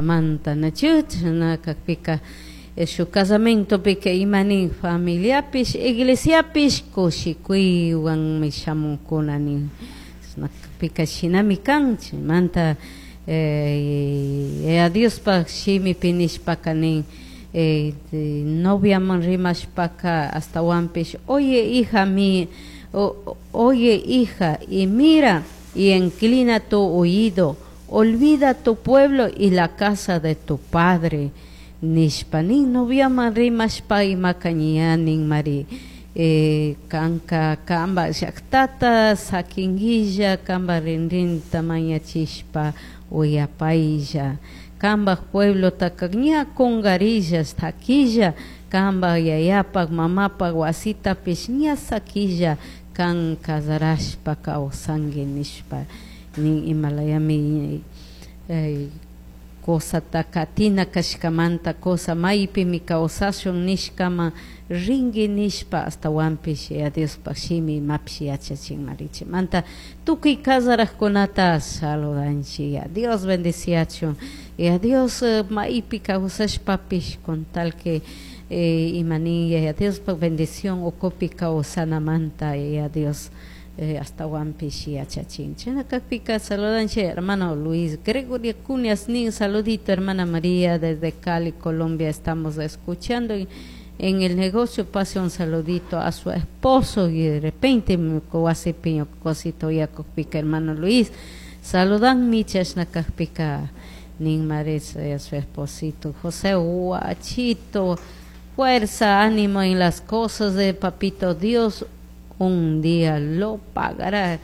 Manta nachu chashna kakpika shuk casamentopika ima nin familiapish iglesiapish kushikuywanmi shamunkuna nin, chashna kakpika shinami kan. Chaymanta Yaya Diospaj shimipi nishpaka nin, noviaman rimashpaka ashtawanpish: "Oye, hija mi, oye, hija, y mira y inclina tu oído, olvida tu pueblo y la casa de tu padre" nishpa nin. Noviaman rimashpa imaka ña ninmari: kanka kamba llaktata sakinguilla, kamba rinrinta mañachishpa uyapaylla, kambaj pueblotaka ña kungarilla, saquilla, kamba yayapak mamapak wasitapish ña saquilla, kan casarashpa kawsanki nishpa nin. Imalayami cosata katina kashkamanta, cosa maypimi kawsashun nishkama ringui nishpa ashtawanpish Yaya Diospaj shimi imapish yachachinmari. Chaymanta tukuy casarajkunata saludanchik. Ya Dios bendiciachun. Ya Dios maypi kawsashpapish, con tal que ima nin, Yaya Diospaj bendición ukupi kawsanamanta Yaya Dios ashtawanpish yachachin. Chashna kakpika saludanchik hermano Luis Gregorio Cuñas nin: "Saludito, hermana María, desde Cali, Colombia, estamos escuchando en el negocio, pase un saludito a su esposo" y de repente wasipi ñuka uyakukpika, hermano Luis saludanmi. Chashna kakpika nin mari su esposito José Huachito: "Fuerza, ánimo en las cosas de papito Dios, un día lo pagará"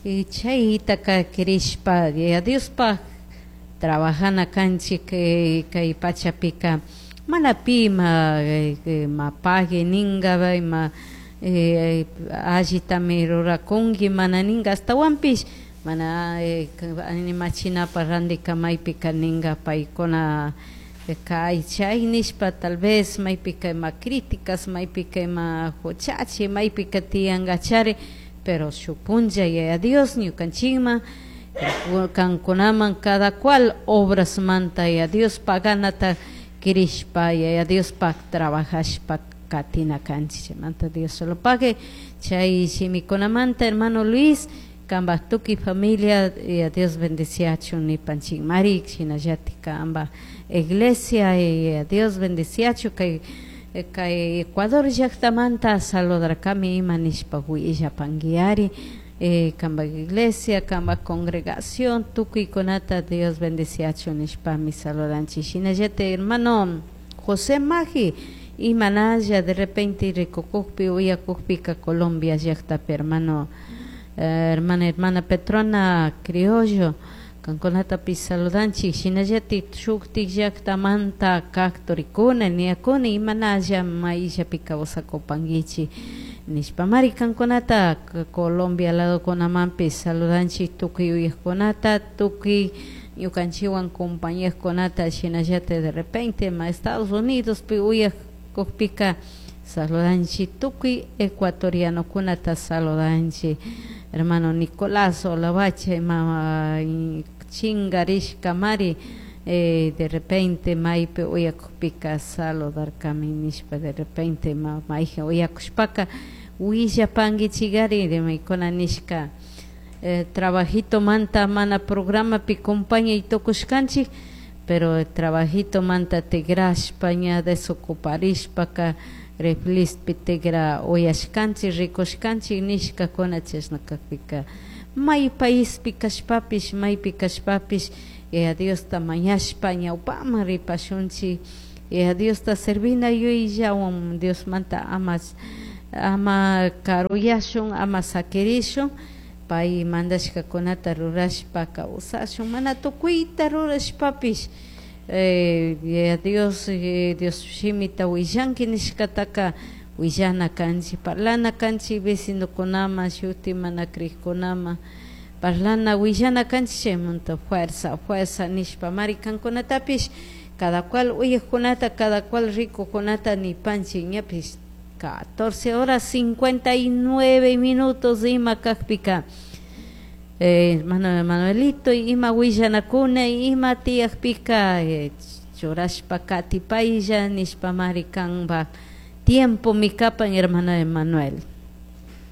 y chaytaka crishpa Yaya Diospaj trabajana kanchik. Kay pachapika mana pi ma ma pagui ninga, ima allitami rurakunki mana ninga, ashtawanpish mana animachinapa randika maypika ninga paykuna kay chay nishpa, tal vez maypika ima críticas, maypika ima huchachi, maypika tiyankachari, pero shuk punlla Yaya Dios ñukanchikman, kankunaman cada cual obrasmanta Yaya Dios paganata crishpa Yaya Diospaj trabajashpa katina kanchik. Chaymanta Dios solo pague chay shimikunamanta, hermano Luis, kambaj tukuy familia ya Dios bendiciachun nipanchik mari. Shinallatik kambaj iglesia ya Dios bendiciachun. Kay Ecuador llaktamanta saludarkami, ima nishpa willapanguiari. Kambaj iglesia, kambaj congregación, tukuykunata Dios bendiciachun nishpami saludanchik. Shinallatik hermano José Magi, imanalla de repente rikukukpi, uyakukpika Colombia llaktapi, hermano, hermana Petrona Criollo, kankunatapish saludanchik. Shinallatik shuktik llaktamanta kak turikuna, niyakuna, imanalla mayllapi kawsakupankichik nishpa mari kankunata Colombia ladokunamanpish saludanchik, tukuy uyakkunata, tukuy ñukanchikwan compañekunata. Shinallatik de repente ma Estados Unidospi uyakukpika saludanchik, tukuy ecuatorianokunata saludanchik. Hermano Nicolás Olavache ima chingarishka mari, de repente maypi uyakukpika saludarkami nishpa, de repente mayjin uyakushpaka willapankichikari. Maykuna nishka trabajito manta mana programapi compañay tukushkanchik, pero trabajito manta tigrashpa ña desocuparishpaka reflispi tigra uyashkanchik, rikushkanchik nishkakuna. Chashna kakpika may paispi kashpapish, maypi kashpapish Yaya Diosta mañashpa ñawpaman ripashunchik. Yaya Diosta servina yuyayllawan Diosmanta ama karuyashun, ama sakirishun, pay mandashkakunata rurashpa kawsashun. Mana tukuyta rurashpapish Yaya Dios, Dios shimita willanki nishkataka willana kanchik, parlana kanchik vecinokunaman, shuti mana crikkunaman parlana, willana kanchik. Chaymanta fuerza, fuerza nishpa mari kankunatapish, cada cual uyakkunata, cada cual rikukunata nipanchik. Ñapish 14 horas 59 minutos ima kakpika. Eh, hermano Emanuelito, ima willanakuna, ima tiyakpika eh, churashpa katipaylla nishpamari kanpak tiempomi kapan hermano Emanuel.